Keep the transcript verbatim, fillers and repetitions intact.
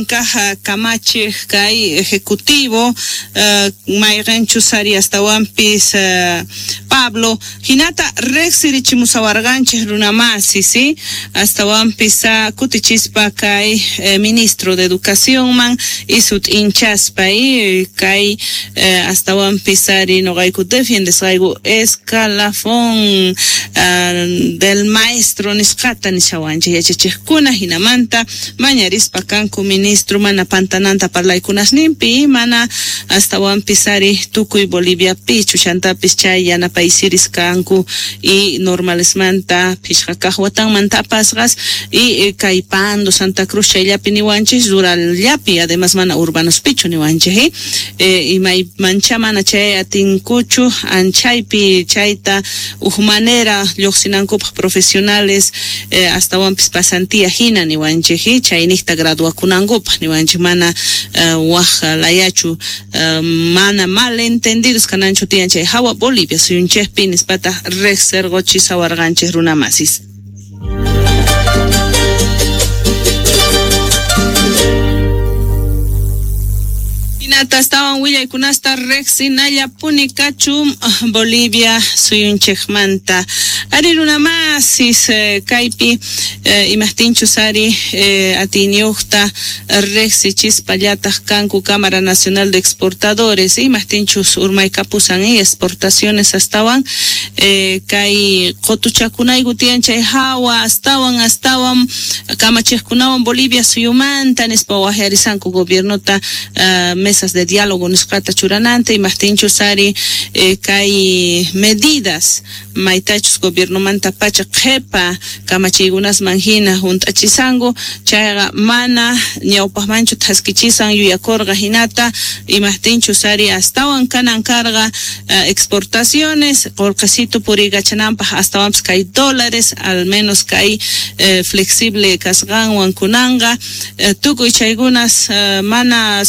Wakin kaj kamachej kay ejecutivo uh, mayqenchus ari astawanpis uh, Pablo hinata riqsirichimusawarqanchej runamasi, ¿sí? Astawanpis uh, kutichispa kay eh, ministro de educación man y sut'inchaspa y kay eh, astawanpis ari noqayku defiendesqayku escalafón uh, del maestro nisqata nishawanchej yachachejkuna hinamanta mañarispa kanku ministro mana pantananta parlaykunasninpi mana astawanpis ari tukuy Boliviapichu chantapis chay yanapaysiris kanku y normalesmanta phishqa kaj watanmanta apasqas y eh, kay Pando Santa Cruz chayllapi niwanchis rurallapi además mana urbanospichu niwanchis eh, eh imaymancha mana chay atinkuchu anchaypi chayta uj manera lluqsinankupaq profesionales eh, astawanpis pasantía hina niwanchis eh, chayniqta graduakunankupaq niwanchis mana uh, waj layachu uh, mana malentendidos kananchu tiyan chay hawa Bolivia suyunchejpi nispata riqsirquchisawarqanchis runamasis. Hinata astawan willaykunasta riqsinallapuni kachun Bolivia suyunchejmanta. Ari runamasis eh, kaypi eh, imajtinchus ari eh, atiyniyuqta riqsichispallataj kanku Cámara Nacional de Exportadores imajtinchus urmaykapusan y exportaciones astawan eh, kay qutuchakunayku tiyan chay hawa astawan astawan kamachejkunawan Bolivia suyumanta nispa wajyarisanku gobiernota uh, mesas de diálogo nisqata churananta imajtinchus ari eh, kay medidas maytachus gobiernomanta pacha qhepa kamachiykunasman hina hunt'achisanku chayqa mana ñawpaqmanchu thaskichisan yuyakurqa hinata imajtinchus ari astawan kanan karqa uh, exportaciones qullqisito puriykachananpaq astawanpis kay dólares al menos kay eh, flexible kasqanwan kunanqa eh, tukuy chaykunas uh, mana